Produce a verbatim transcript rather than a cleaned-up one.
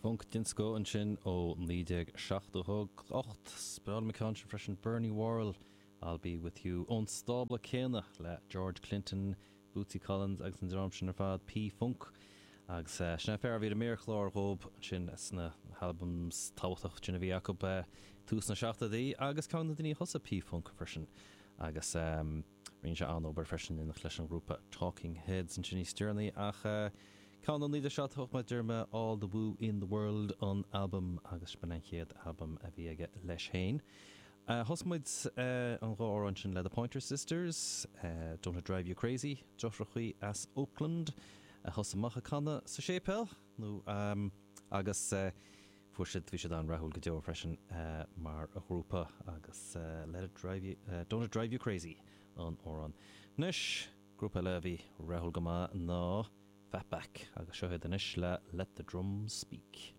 Funk den scoth ansin ó naoi déag seachtó ocht. Spráil me sin freisin Bernie Worrell, I'll Be With You ón stábla céanna le George Clinton, Bootsy Collins agus an dream sin ar fad P-Funk. Agus uh, sin fear bhí méarchlár dhób sin sna albums tábhachtach sin a bhí acu uh, tús na seachtóidí agus ceann de na daoine a thosaigh P-Funk freisin. Agus um, rinne sé an-obair freisin in leis an grúpa Talking Heads an sin stirnaí ach uh, Ceann naoi seacht hocht derma All the Woo in the World an album agus b'in an chéad album a bhí aige leis féin. Uh, Thosaigh muid uh, an dhá amhrán sin le The Pointer Sisters, uh, Don't It Drive You Crazy, deirfiúracha as Oakland, a thosaigh amach ag canadh sa séipéal nó um, agus uh, fuair siad bhí siad an-rathúil go deo freisin uh, mar a ghrúpa agus uh, Let It Drive You, uh, Don't It Drive You Crazy an amhrán. Anois grúpa eile a bhí rathúil go maith ná Fatback agus seo iad anois le Let the Drums Speak.